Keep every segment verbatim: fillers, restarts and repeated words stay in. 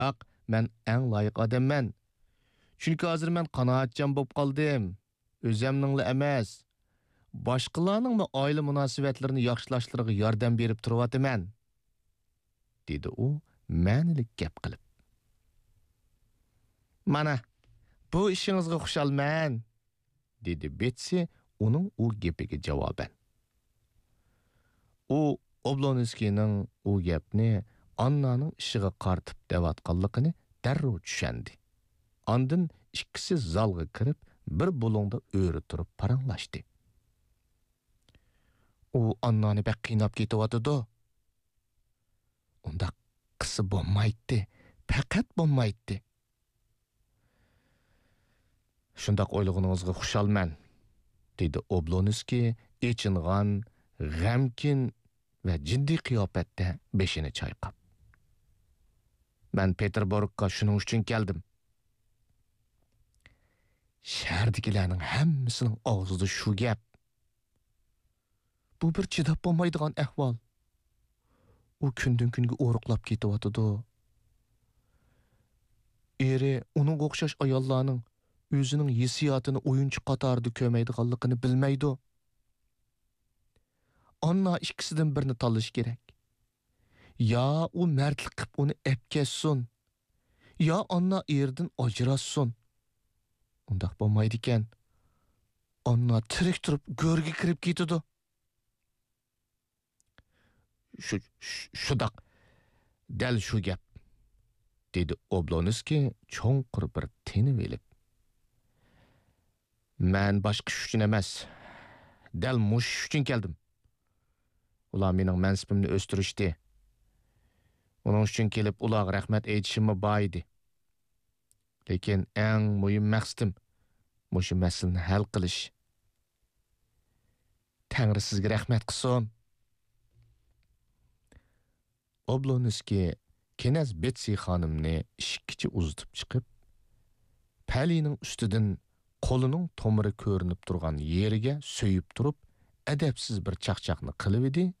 ئاق، مەن ئەڭ لايىق ئادەممەن. چۈنكى ھازىر مەن قانائەتچان بولۇپ قالدىم. ئۆزەمنىڭلا ئەمەس، باشقىلارنىڭمۇ ئائىلە مۇناسىۋەتلىرىنى ياخشىلاشلىرىغا ياردەم بېرىپ تۇرۇۋاتىمەن، دېدى ئۇ مەنىلىك گەپ قىلىپ. مانا، بۇ ئىشىڭىزغا خۇشالمەن، دېدى بېتسى ئۇنىڭ ئۇ گېپىگە جاۋابەن. ئۇ ئوبلونسكىينىڭ ئۇ گەپنى ئاننانىڭ ئىشىغا قارىتىپ دەۋاتقانلىقىنى دەررۇ چۈشەندى. ئاندىن ئىككىسى زالغا كىرىپ، بىر بۇلۇڭدا ئۆرە تۇرۇپ پاراڭلاشتى. ئۇ ئاننانى بەك قىيناپ كېتىۋاتىدۇ. ئۇنداق قىلسا بولمايتتى، پەقەت بولمايتتى. شۇنداق ئويلىغىنىڭىزغا خۇشالمەن، دېدى ئوبلونسكىي ئېچىنغان، غەمكىن ۋە جىددىي قىياپەتتە بېشىنى چايقاپ. مەن پېتېربۇرگقا شۇنىڭ ئۈچۈن كەلدىم. شەھەردىكىلەرنىڭ ھەممىسىنىڭ ئاغزىدا شۇ گەپ. بۇ بىر چىداپ بولمايدىغان ئەھۋال. ئۇ كۈندىن-كۈنگە ئورۇقلاپ كېتىۋاتىدۇ. ئېرى ئۇنىڭغا ئوخشاش ئاياللارنىڭ ئۆزىنىڭ ھېسسىياتىنى ئويۇنچۇق قاتارىدا كۆرمەيدىغانلىقىنى بىلمەيدۇ. ئاننا ئىككىسىدىن بىرنى تاللىشى كېرەك. يا ئۇ مەردلىك قىپ ئۇنى ئەپكەچسۇن، يا ئاننا ئېرىدىن ئاجراشسۇن. ئۇنداق بولمايدىكەن. ئاننا تىرىك تۇرۇپ گۆرگە كىرىپ كېتىدۇ. شۇ، شۇ، شۇنداق، دەل شۇ گەپ، دېدى ئوبلونسكىي چوڭقۇر بىر تىنىۋېلىپ. مەن باشقا ئىش ئۈچۈن ئەمەس، دەل مۇشۇ ئىش ئۈچۈن كەلدىم. ئۇلار مېنىڭ مەنسىپىمنى ئۆستۈرۈشتى. ئۇنىڭ ئۈچۈن كېلىپ ئۇلارغا رەھمەت ئېيتىشىممۇ بار ئىدى. لېكىن ئەڭ مۇھىم مەقسىتىم مۇشۇ مەسىلىنى ھەل قىلىش. تەڭرى سىزگە رەھمەت قىلسۇن. ئوبلونسكىي كىنەز بېتسى خانىمنى ئىشىككىچە ئۇزىتىپ چىقىپ، پەلىنىڭ ئۈستىدىن قولىنىڭ تومۇرى كۆرۈنۈپ تۇرغان يېرىگە سۆيۈپ تۇرۇپ، ئەدەپسىز بىر چاقچاقنى قىلىۋىدى.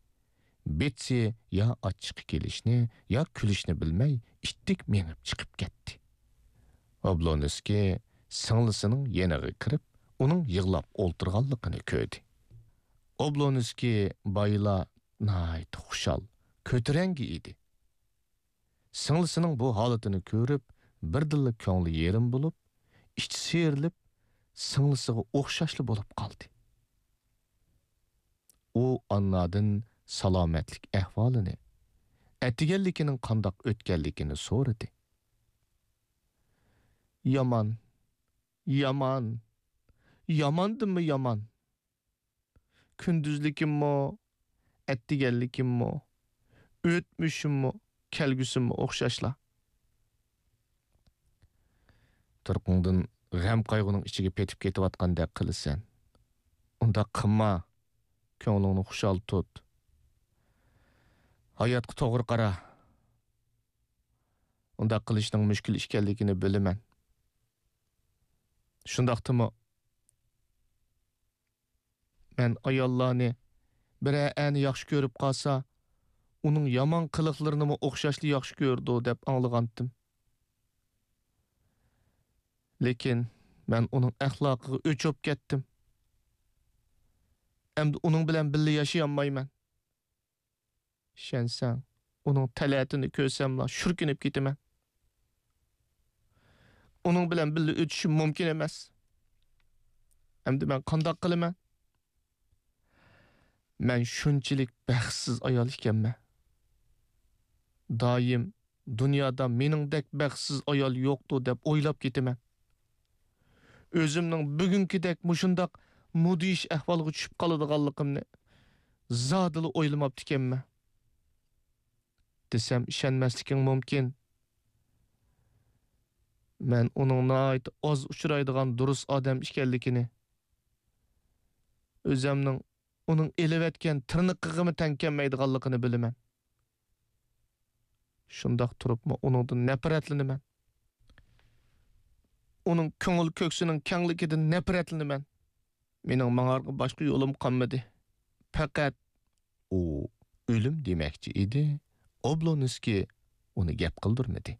بېتسى يا ئاچچىقى كېلىشنى، يا كۈلۈشنى بىلمەي، ئىتتىك مېڭىپ چىقىپ كەتتى. ئوبلونسكىي سىڭلىسىنىڭ يېنىغا كىرىپ، ئۇنىڭ يىغلاپ ئولتۇرغانلىقىنى كۆردى. ئوبلونسكىي بايىلا ناھايىتى خۇشال، كۆتۈرەڭگۈ ئىدى. سىڭلىسىنىڭ بۇ ھالىتىنى كۆرۈپ، بىردىنلا كۆڭلى يېرىم بولۇپ، ئىچى سىيرىلىپ، سىڭلىسىغا ئوخشاشلا بولۇپ قالدى. ئۇ ئاننادىن سالامەتلىك ئەھۋالىنى، ئەتىگەنلىكىنىڭ قانداق ئۆتكەنلىكىنى سورىدى. يامان، يامان، ياماندىنمۇ يامان. كۈندۈزلۈكۈممۇ، ئەتىگەنلىكىممۇ، ئۆتمۈشۈممۇ، كەلگۈسىممۇ ئوخشاشلا. تۇرقۇڭدىن غەم-قايغۇنىڭ ئىچىگە پېتىپ كېتىۋاتقاندەك قىلىسەن. ئۇنداق قىلما. كۆڭلۈڭنى خۇشال تۇت. ھاياتقا توغرا قارا. ئۇنداق قىلىشنىڭ مۈشكۈل ئىكەنلىكىنى بىلىمەن. شۇنداقتىمۇ، مەن ئاياللارنى بىرەر ئەرنى ياخشى كۆرۈپ قالسا، ئۇنىڭ يامان قىلىقلىرىنىمۇ ئوخشاشلا ياخشى كۆرىدۇ، دەپ ئاڭلىغانتىم. لېكىن مەن ئۇنىڭ ئەخلاقىغا ئۆچۈپ كەتتىم. ئەمدى ئۇنىڭ بىلەن بىللە ياشىيالمايمەن. ئىشەنسەڭ، ئۇنىڭ تەلەتىنى كۆرسەملا شۈركۈنۈپ كېتىمەن. ئۇنىڭ بىلەن بىللە ئۆتۈشۈم مۇمكىن ئەمەس. ئەمدى مەن قانداق قىلىمەن؟ مەن شۇنچىلىك بەختسىز ئايال ئىكەنمەن. دائىم دۇنيادا مېنىڭدەك بەختسىز ئايال يوقتۇ دەپ ئويلاپ كېتىمەن. ئۆزۈمنىڭ بۈگۈنكىدەك مۇشۇنداق مۇدھىش ئەھۋالغا چۈشۈپ قالىدىغانلىقىمنى زادىلا ئويلىماپتىكەنمەن. دېسەم ئىشەنمەسلىكىڭ مۇمكىن. مەن ئۇنىڭ ناھايىتى ئاز ئۇچرايدىغان دۇرۇس ئادەم ئىكەنلىكىنى، ئۆزەمنىڭ ئۇنىڭ ئېلىۋەتكەن تىرنىقىغىمۇ تەڭ كەلمەيدىغانلىقىنى بىلىمەن. شۇنداق تۇرۇپمۇ ئۇنىڭدىن نەپرەتلىنىمەن. ئۇنىڭ كۆڭۈل كۆكسىنىڭ كەڭلىكىدىن نەپرەتلىنىمەن. مېنىڭ ماڭارغا باشقا يولۇم قالمىدى. پەقەت ئۇ ئۆلۈم دېمەكچى ئىدى، ئوبلونسكىي ئۇنى گەپ قىلدۇرمىدى.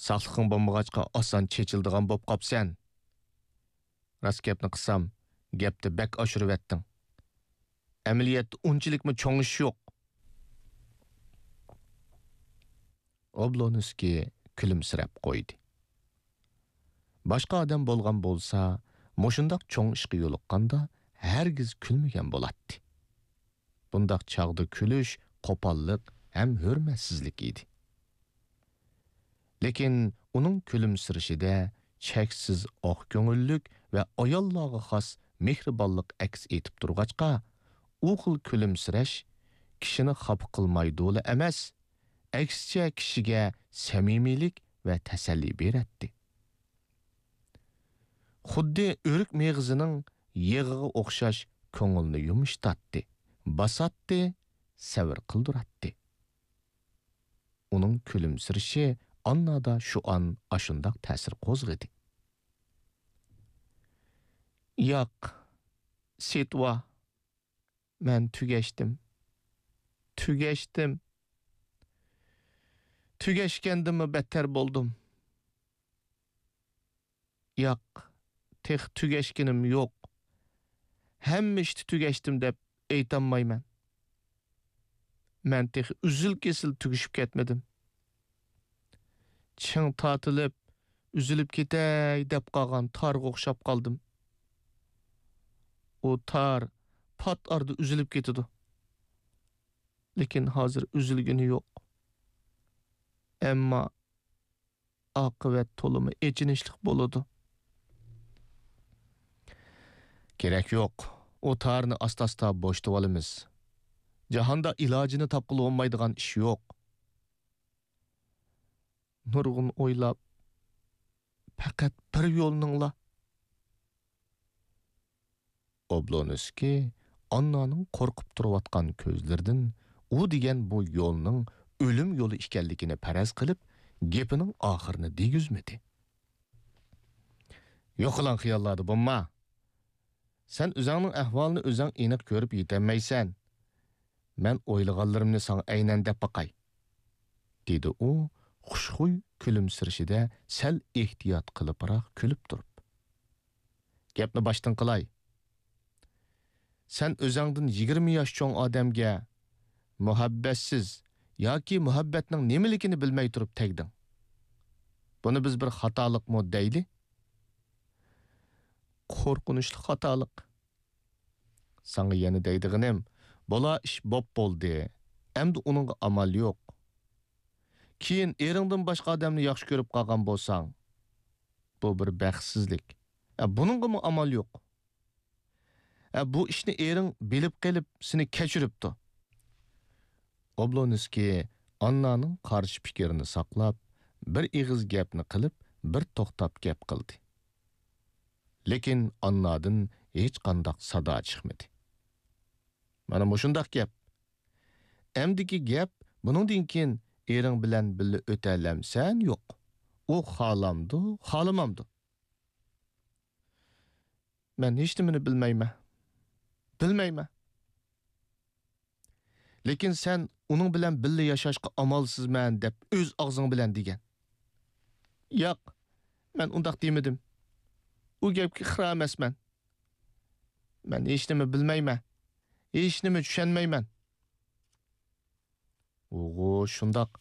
ساقلىقىڭ بولمىغاچقا ئاسان چېچىلىدىغان بوپ قاپسەن. راست گەپنى قىلسام، گەپنى بەك ئاشۇرۇۋەتتىڭ. ئەمەلىيەتتە ئۇنچىلىكمۇ چوڭ ئىش يوق. ئوبلونسكىي كۈلۈمسىرەپ قويدى. باشقا ئادەم بولغان بولسا، مۇشۇنداق چوڭ ئىشقا يولۇققاندا ھەرگىز كۈلمىگەن بولاتتى. بۇنداق چاغدا كۈلۈش قوپاللىق ھەم ھۆرمەتسىزلىك ئىدى. لېكىن ئۇنىڭ كۈلۈمسىرىشىدە چەكسىز ئاق كۆڭۈللۈك ۋە ئاياللارغا خاس مېھرىبانلىق ئەكس ئېتىپ تۇرغاچقا، ئۇ خىل كۈلۈمسىرەش كىشىنى خاپا قىلمايدۇلا ئەمەس، ئەكسىچە كىشىگە سەمىمىيلىك ۋە تەسەللى بېرەتتى. خۇددى ئۆرۈك مېغىزىنىڭ يېغىغا ئوخشاش كۆڭۈلنى يۇمشىتاتتى، باساتتى، سەۋر قىلدۇراتتى. ئۇنىڭ كۈلۈمسىرىشى ئاننادا شۇ ئان ئاشۇنداق تەسىر قوزغىدى. ياق، سېتۋا، مەن تۈگەشتىم. تۈگەشتىم. تۈگەشكەندىنمۇ بەتتەر بولدۇم. ياق، تېخى تۈگەشكىنىم يوق. ھەممە ئىشتا تۈگەشتىم دەپ ئېيتالمايمەن. مەن تېخى ئۈزۈل-كېسىل تۈگىشىپ كەتمىدىم. چىڭ تارتىلىپ، ئۈزۈلۈپ كېتەي دەپ قالغان تارغا ئوخشاپ قالدىم. ئۇ تار پات ئارىدا ئۈزۈلۈپ كېتىدۇ. لېكىن ھازىر ئۈزۈلگىنى يوق. ئەمما ئاقىۋەت تولىمۇ ئېچىنىشلىق بولىدۇ. كېرەك يوق. ئۇ تارنى ئاستا-ئاستا بوشىتىۋالىمىز. جاھاندا ئىلاجىنى تاپقىلى بولمايدىغان ئىش يوق. نۇرغۇن ئويلاپ، پەقەت بىر يولنىڭلا. ئوبلونسكىي ئاننانىڭ قورقۇپ تۇرۇۋاتقان كۆزلىرىدىن ئۇ دېگەن بۇ يولنىڭ ئۆلۈم يولى ئىكەنلىكىنى پەرەز قىلىپ، گېپىنىڭ ئاخىرىنى دېگۈزمىدى. يوقىلاڭ خىياللاردا بولما. سەن ئۆزۈڭنىڭ ئەھۋالىنى ئۆزۈڭ ئېنىق كۆرۈپ يېتەلمەيسەن. مەن ئويلىغانلىرىمنى ساڭا ئەينەن دەپ باقاي، دېدى ئۇ خۇشخۇي كۈلۈمسىرىشىدە سەل ئېھتىيات قىلىپراق كۈلۈپ تۇرۇپ. گەپنى باشتىن قىلاي. سەن ئۆزۈڭدىن يىگىرمە ياش چوڭ ئادەمگە مۇھەببەتسىز ياكى مۇھەببەتنىڭ نېمىلىكىنى بىلمەي تۇرۇپ تەگدىڭ. بۇنى بىز بىر خاتالىقمۇ دەيلى؟ قورقۇنچلۇق خاتالىق. ساڭا يەنە دەيدىغىنىم، بولا ئىش بوپ بولدى. ئەمدى ئۇنىڭغا ئامال يوق. كېيىن ئېرىڭدىن باشقا ئادەمنى ياخشى كۆرۈپ قالغان بولساڭ، بۇ بىر بەختسىزلىك. ئە، بۇنىڭغىمۇ ئامال يوق. ئە، بۇ ئىشنى ئېرىڭ بىلىپ قېلىپ، سېنى كەچۈرۈپتۇ. ئوبلونسكىي ئاننانىڭ قارشى پىكرىنى ساقلاپ، بىر ئېغىز گەپنى قىلىپ، بىر توختاپ گەپ قىلدى. لېكىن ئاننادىن ھېچقانداق سادا چىقمىدى. مانا مۇشۇنداق گەپ. ئەمدىكى گەپ، بۇنىڭدىن كېيىن ئېرىڭ بىلەن بىللە ئۆتەلەمسەن، يوق؟ ئۇ خالامدۇ، خالىمامدۇ؟ مەن ھېچنېمىنى بىلمەيمەن. بىلمەيمەن. لېكىن سەن ئۇنىڭ بىلەن بىللە ياشاشقا ئامالسىزمەن دەپ ئۆز ئاغزىڭ بىلەن دېگەن. ياق، مەن ئۇنداق دېمىدىم. ئۇ گەپكە ئىقرار ئەمەسمەن. مەن ھېچنېمە بىلمەيمەن. ھېچنېمە چۈشەنمەيمەن. ئۇغۇ، شۇنداق.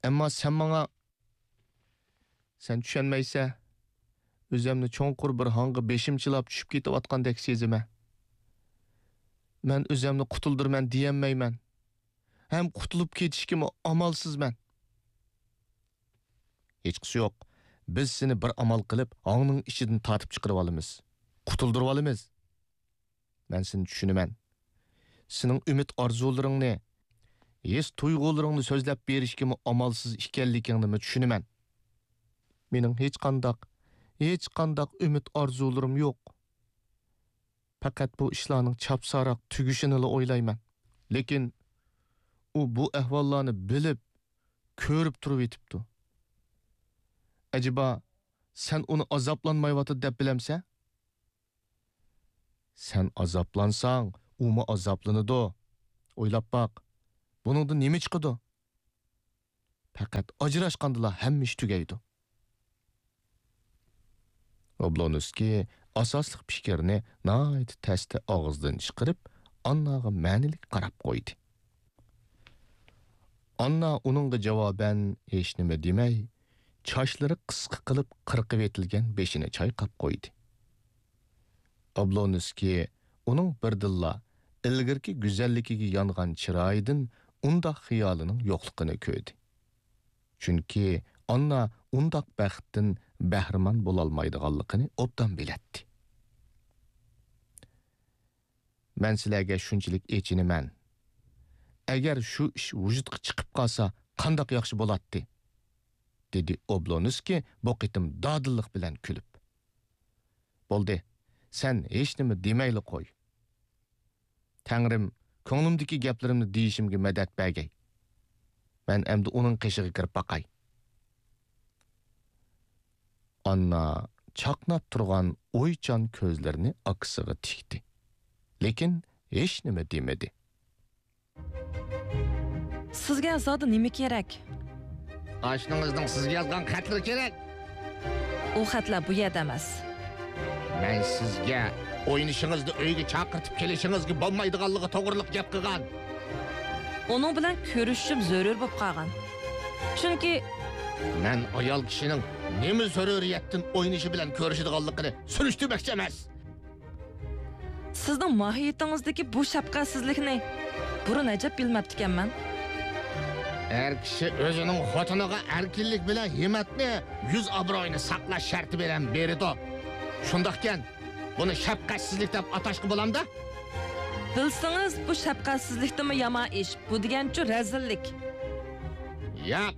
ئەمما سەن ماڭا، سەن چۈشەنمەيسەن. ئۆزۈمنى چوڭقۇر بىر ھاڭغا بېشىم چىلاپ چۈشۈپ كېتىۋاتقاندەك سېزىمەن. مەن ئۆزۈمنى قۇتۇلدۇرىمەن دېيەلمەيمەن. ھەم قۇتۇلۇپ كېتىشكىمۇ ئامالسىزمەن. ھېچقىسى يوق. بىز سېنى بىر ئامال قىلىپ، ھاڭنىڭ ئىچىدىن تارتىپ چىقىرىۋالىمىز. قۇتۇلدۇرۇۋالىمىز. مەن سېنى چۈشىنىمەن. سېنىڭ ئۈمىد-ئارزۇلىرىڭنى، ھېس-تۇيغۇلىرىڭنى سۆزلەپ بېرىشكىمۇ ئامالسىز ئىكەنلىكىڭنىمۇ چۈشىنىمەن. مېنىڭ ھېچقانداق، ھېچقانداق ئۈمىد-ئارزۇلىرىم يوق. پەقەت بۇ ئىشلارنىڭ چاپساراق تۈگىشىنىلا ئويلايمەن. لېكىن ئۇ بۇ ئەھۋاللارنى بىلىپ، كۆرۈپ تۇرۇۋېتىپتۇ. ئەجەبا، سەن ئۇنى ئازابلانمايۋاتىدۇ دەپ بىلەمسەن؟ سەن ئازابلانساڭ، ئۇمۇ ئازابلىنىدۇ. ئويلاپ باق، بۇنىڭدىن نېمە چىقىدۇ؟ پەقەت ئاجراشقاندىلا ھەممە ئىش تۈگەيدۇ. ئوبلونسكىي ئاساسلىق پىكىرنى ناھايىتى تەستە ئاغزىدىن چىقىرىپ، ئانناغا مەنىلىك قاراپ قويدى. ئاننا ئۇنىڭغا جاۋابەن ھېچنېمە دېمەي، چاچلىرى قىسقا قىلىپ قىرقىۋېتىلگەن بېشىنى چايقاپ قويدى. ئابلونسكىي ئۇنىڭ بىردىنلا ئىلگىرىكى گۈزەللىكىگە يانغان چىرايىدىن ئۇنداق خىيالىنىڭ يوقلۇقىنى كۆردى. چۈنكى ئاننا ئۇنداق بەختتىن بەھرىمەن بولالمايدىغانلىقىنى ئوبدان بىلەتتى. مەن سىلەرگە شۇنچىلىك ئېچىنىمەن. ئەگەر شۇ ئىش ۋۇجۇدقا چىقىپ قالسا، قانداق ياخشى بولاتتى؟ دېدى ئوبلونسكىي بۇ قېتىم دادىللىق بىلەن كۈلۈپ. بولدى، سەن ھېچنېمە دېمەيلا قوي. تەڭرىم كۆڭلۈمدىكى گەپلىرىمنى دېيىشىمگە مەدەت بەرگەي. مەن ئەمدى ئۇنىڭ قېشىغا كىرىپ باقاي. ئاننا چاقناپ تۇرغان ئويچان كۆزلىرىنى ئاكىسىغا تىكتى. لېكىن ھېچنېمە دېمىدى. سىزگە زادى نېمە كېرەك؟ ئاشنىڭىزنىڭ سىزگە يازغان خەتلىرى كېرەك. ئۇ خەتلەر بۇ يەردە ئەمەس. مەن سىزگە ئوينىشىڭىزنى ئۆيگە چاقىرتىپ كېلىشىڭىزگە بولمايدىغانلىقى توغرىلىق گەپ قىلغان. ئۇنىڭ بىلەن كۆرۈشۈشۈم زۆرۈر بولۇپ قالغان. چۈنكى مەن ئايال كىشىنىڭ نېمە زۆرۈرىيەتتىن ئوينىشى بىلەن كۆرۈشىدىغانلىقىنى سۈرۈشتۈرمەكچى ئەمەس. سىزنىڭ ماھىيىتىڭىزدىكى بۇ شەپقەتسىزلىكنى بۇرۇن ئەجەب بىلمەپتىكەنمەن. ئەر كىشى ئۆزىنىڭ خوتۇنىغا ئەركىنلىك بىلەن ھىممەتنى، يۈز ئابرۇيىنى ساقلاش شەرتى بىلەن بېرىدۇ. شۇنداقكەن، بۇنى شەپقەتسىزلىك دەپ ئاتاشقا بولامدا؟ بىلسىڭىز، بۇ شەپقەتسىزلىكتىنمۇ يامان ئىش. بۇ دېگەنچۇ رەزىللىك. ياق.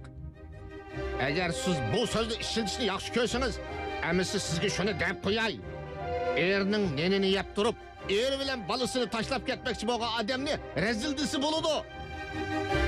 ئەگەر سىز بۇ سۆزنى ئىشلىتىشنى ياخشى كۆرسىڭىز، ئەمىسە سىزگە شۇنى دەپ قوياي. ئېرىنىڭ نېنىنى يەپ تۇرۇپ، ئېرى بىلەن بالىسىنى تاشلاپ كەتمەكچى بولغان ئادەمنى رەزىل دېسە بولىدۇ.